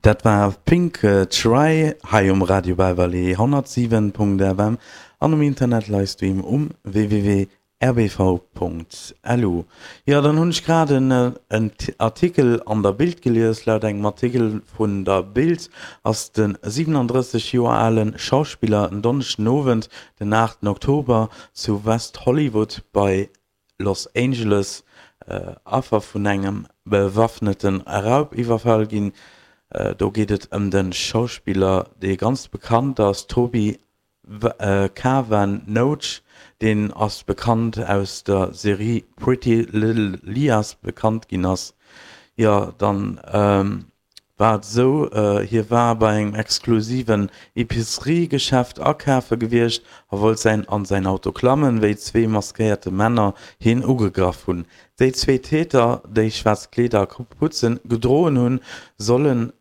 Dat war Pink Try hei um Radio Beverly 107.fm an um Internet Livestream um www.rbv.lu. Jo, dann hunn ech grad en Artikel an der Bild gelies. Laut engem Artikel vun der Bild ass de 37 Joer ale Schauspiller en Donneschden Owend, den 8 Oktober, zu West Hollywood bei Los Angeles Affer vun engem bewaffnete Raubiwwerfall ginn. Do geet et ëm de Schauspiller, dee ganz bekannt ass, Toby Kavanough. Deen ass bekannt aus der Serie Pretty Little Liars bekannt ginn ass. Jo, dann war et esou, hie war bei engem exklusiven Epicerie-Geschäft akafe gewiescht a wollt säin an säin Auto klammen, wéi zwee maskéierte Männer hien ugegraff hunn. Déi zwee Täter, déi schwaarz Kleeder a Kaputzen gedroen hunn, sollen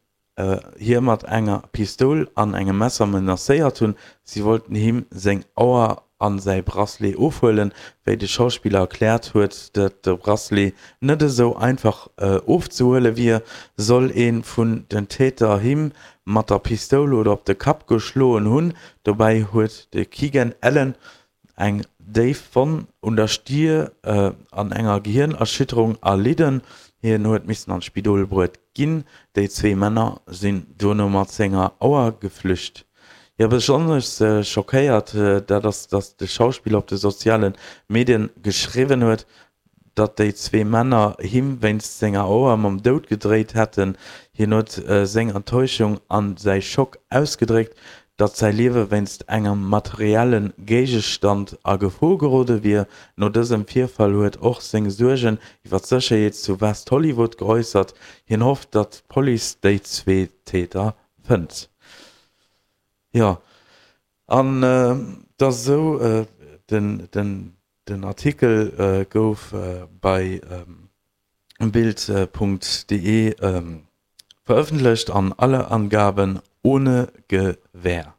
hie mat enger Pistoul an engem Messer menacéiert hunn. Si wollten him seng Auer a säi Bracelet ofhuelen. Wéi de Schauspiller erkläert huet, datt de Bracelet net esou einfach ofzehuele wier, soll ee vun den Täter him mat der Pistoul oder op de Kapp geschloen hunn. Dobäi huet de Keegan Allen eng déif Wonn un der Stier an enger Gehirnerschütterung erlidden. Hien huet missen an d'Spidol bruet ginn. Déi zwee Männer sinn dono mat senger Auer geflücht. Jo, besonnesch schockéiert, dat ass, datt de Schauspiller op de soziale Medien geschriwwen huet, datt déi zwee Männer him wéinst senger Auer mam Doud gedréit hätten. Hien huet seng Enttäuschung a säi Schock ausgedréckt, datt säi Liewe wéinst engem materielle Géigestand a Gefor gerode wier. No dësem Virfall huet och seng Suergen iwwer d'Sécherheet zu West Hollywood geäussert. Hien hofft, datt d'Police déi zwee Täter fënnt. Jo, an et ass esou, den Artikel gouf bei bild.de verëffentlecht an alle Angaben ohne Gewähr.